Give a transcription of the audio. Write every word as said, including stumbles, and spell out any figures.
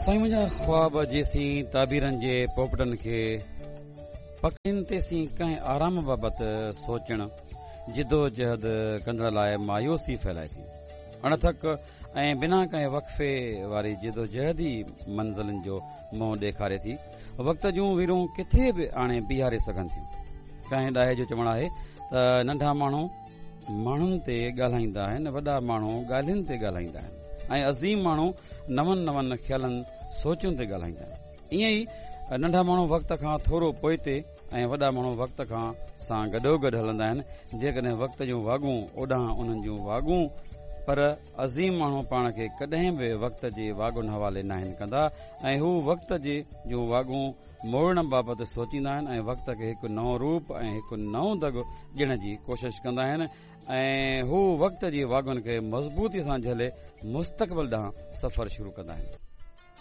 سائين منهنجا خواب جيسين تعبيرن جي پوپٽن کي پڪڙين تيسين ڪنهن آرام بابت سوچڻ جدوجهد ڪندڙ لاء مايوسي ڦهلائي ٿي. اڻٿڪ ۽ بنا ڪنهن وقفي واري جدوجهد ئي منزلن جو منهن ڏيکاري ٿي. وقت جون ويرون ڪٿي به آڻي بيهاري سگهن ٿيون. ڪنهن ڏاهي جو چوڻ آهي ته ننڍا ماڻهو ماڻهن تي ڳالهائيندا آهن، وڏا ماڻهو ڳالهين تي ڳالهائيندا آهن ۽ عظيم ماڻهو نون نون خيالن سوچن تي ڳالهائيندا آهن. ائين ئي ننڍا ماڻهو وقت کان ٿورو پوئتي ۽ وڏا ماڻهو وقت کان سان گڏوگڏ هلندا آهن. جيڪڏهن وقت جون واڳون اوڏانهن انهن جون واڳون، پر عظيم ماڻهو پاڻ کي ڪڏهن به وقت جي واڳن حوالي ناهن ڪندا ۽ هو وقت جي جون واڳون موڙڻ بابت سوچيندا آهن ۽ وقت کي هڪ نئون روپ ۽ هڪ نئون دڳ ڏيڻ جي ڪوشش ڪندا آهن ۽ هو وقت جي واڳن کي مضبوطي سان جهلي مستقبل ڏانهن سفر شروع ڪندا آهن.